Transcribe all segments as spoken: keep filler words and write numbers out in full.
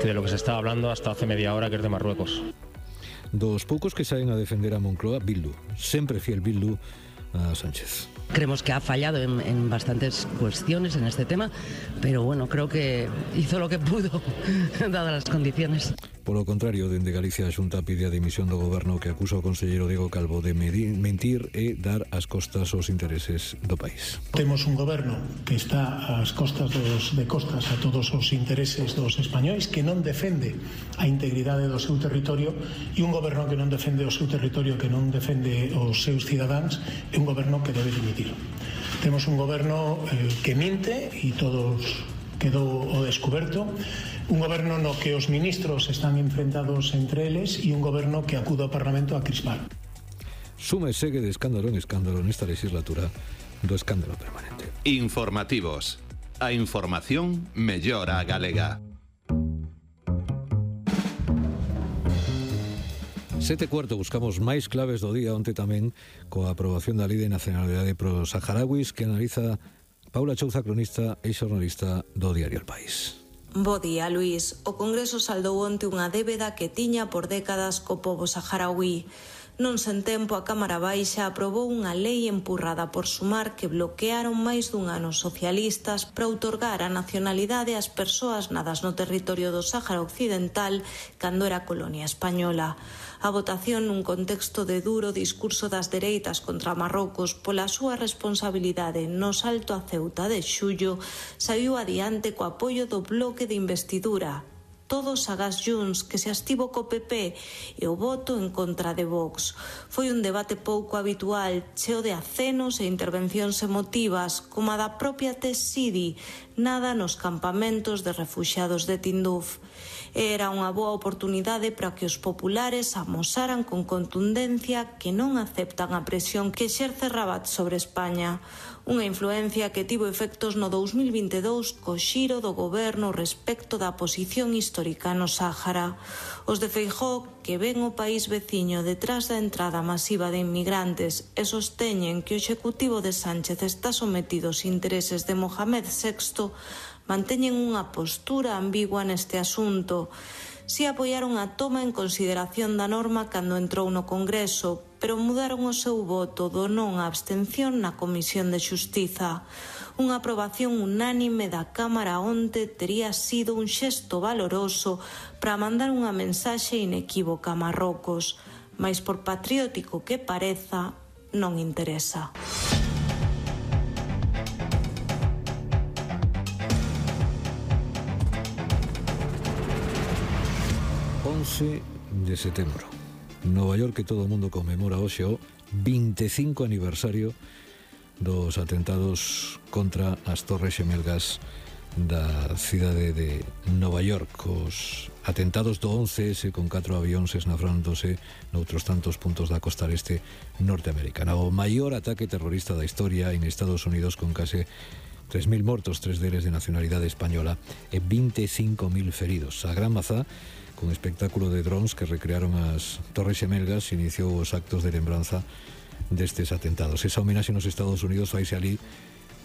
que de lo que se estaba hablando hasta hace media hora, que es de Marruecos. Dos poucos que saen a defender a Moncloa, Bildu, sempre fiel Bildu a Sánchez. Creemos que ha fallado en, en bastantes cuestiones en este tema, pero bueno, creo que hizo lo que pudo, dadas las condiciones. Polo contrario, dende Galicia a Xunta pide a dimisión do goberno que acusa o conselleiro Diego Calvo de medir, mentir e dar as costas aos intereses do país. Temos un goberno que está ás costas dos, de costas a todos os intereses dos españois, que non defende a integridade do seu territorio, e un goberno que non defende o seu territorio, que non defende os seus cidadáns, é un goberno que debe dimitir. Temos un goberno eh, que minte e todos quedou o descoberto, un goberno no que os ministros están enfrentados entre eles e un goberno que acude ao Parlamento a crispar. Suma e segue de escándalo en escándalo nesta legislatura do escándalo permanente. Informativos. A información mellora a galega. Sete cuarto, buscamos máis claves do día, onte tamén coa aprobación da Lei de Nacionalidade pro Saharauis, que analiza Paula Chouza, cronista e xornalista do diario El País. Bo día, Luís. O Congreso saldou onte unha débeda que tiña por décadas co pobo saharaui. Non sen tempo, a Cámara Baixa aprobou unha lei empurrada por Sumar que bloquearon máis dun ano socialistas para outorgar a nacionalidade ás persoas nadas no territorio do Sáhara Occidental cando era colonia española. A votación nun contexto de duro discurso das dereitas contra Marrocos pola súa responsabilidade no salto a Ceuta de xullo saiu adiante co apoio do bloque de investidura. Todos agás Junts, que se astivo co P P, e o voto en contra de Vox. Foi un debate pouco habitual, cheo de acenos e intervencións emotivas, como a da propia Tess Sidi, nada nos campamentos de refuxiados de Tinduf. Era unha boa oportunidade para que os populares amosaran con contundencia que non aceptan a presión que exerce Rabat sobre España. Unha influencia que tivo efectos no dous mil vinte e dous co xiro do goberno respecto da posición histórica no Sáhara. Os de Feijóo, que ven o país veciño detrás da entrada masiva de inmigrantes e sosteñen que o executivo de Sánchez está sometido aos intereses de Mohamed sexto, manteñen unha postura ambigua neste asunto. Si apoiaron a toma en consideración da norma cando entrou no Congreso, pero mudaron o seu voto do non á abstención na Comisión de Xustiza. Unha aprobación unánime da Cámara onte tería sido un xesto valoroso para mandar unha mensaxe inequívoca a Marrocos, mais por patriótico que pareza, non interesa. once de setembro. Nova York, que todo o mundo conmemora hoxe o vinte e cinco aniversario dos atentados contra as Torres Xemelgas da cidade de Nova York. Os atentados do once ese con catro avións esnafrándose noutros tantos puntos da costa este norteamericana. O maior ataque terrorista da historia en Estados Unidos, con case tres mil mortos, tres deles de nacionalidade española e vinte e cinco mil feridos. A Gran Mazá, con espectáculo de drones que recrearon as Torres Xemelgas, iniciou os actos de lembranza destes atentados. Esa homenaxe nos Estados Unidos faise ali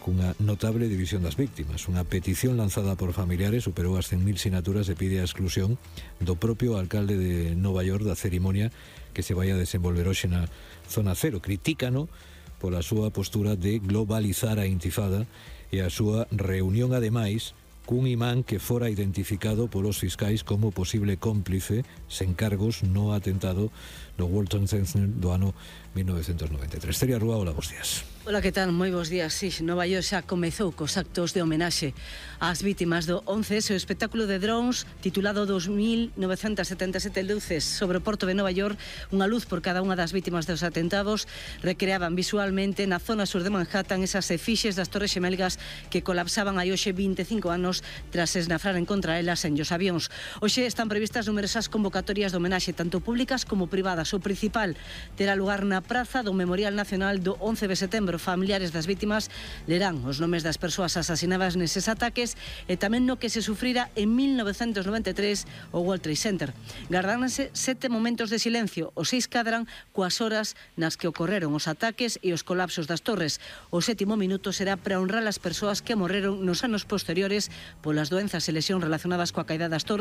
cunha notable división das víctimas. Unha petición lanzada por familiares superou as cen mil sinaturas e pide a exclusión do propio alcalde de Nova York da cerimonia que se vai a desenvolver hoxe na Zona Cero. Critícano pola súa postura de globalizar a intifada e a súa reunión, ademais, cun imán que fora identificado polos fiscais como posible cómplice sen cargos no atentado do World Trade Center do ano mil novecientos noventa e tres. Teria Rúa, hola, bons días. Ola, que tal? Moi bons días. Sí, Nova York xa comezou cos actos de homenaxe ás vítimas do once ese, o espectáculo de drones titulado dos mil novecentas setenta e sete luces sobre o porto de Nova York, unha luz por cada unha das vítimas dos atentados, recreaban visualmente na zona sur de Manhattan esas efixes das Torres Xemelgas que colapsaban hai hoxe vinte e cinco anos tras esnafraren contra elas en os avións. Hoxe están previstas numerosas convocatorias de homenaxe, tanto públicas como privadas. O principal terá lugar na praza do Memorial Nacional do once de setembro. Familiares das vítimas lerán os nomes das persoas asasinadas neses ataques e tamén no que se sufrira en mil novecentos noventa e tres o World Trade Center. Gardánase sete momentos de silencio, os seis cadran coas horas nas que ocorreron os ataques e os colapsos das torres. O sétimo minuto será para honrar as persoas que morreron nos anos posteriores polas doenzas e lesións relacionadas coa caída das torres